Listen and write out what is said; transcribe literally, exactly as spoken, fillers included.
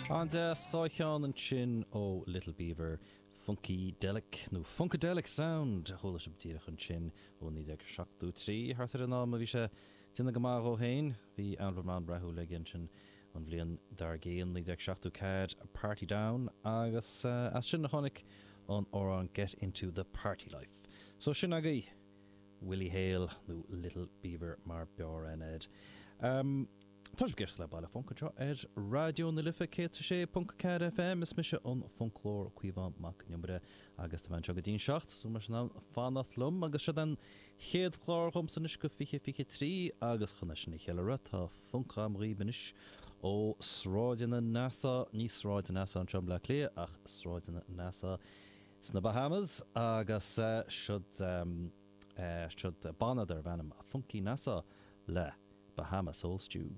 An-deas dhá cheann ansin ó Little Beaver Funky Delic nó Funkadelic Sound a chuala sibh díreach ansin ó naoi déag seachtó trí thart ar an am a bhí sé déanamh go maith dó féin bhí albam an-rathúil aige ansin an bhliain dár gcionn naoi déag seachtó ceathair Party Down agus as sin a tháinig an amhrán Get Into the Party Life. So sin agaibh Willie Hale nó Little Beaver mar b'fhearr aithne air. Um, Tá sibh ag éisteacht le Baile Func anseo ar Raidió na Life céad sé ponc ceathair FM is mise an Funclóir Caomhán Mac Con Iomaire agus tá mé anseo go dtí'n seacht so mar sin an fanacht liom agus seo an chéad chlár dhomsa anois go fiche fiche trí agus chun é sin a cheiliúradh tá func agam dhaoibh anois ó sráideanna Nassau ní sráid Nassau anseo i mBleá Cliath ach sráideanna Nassau sna Bahamas agus siod um, uh, siod banna darb ainm Funky Nassau le Bahama Soul Stew.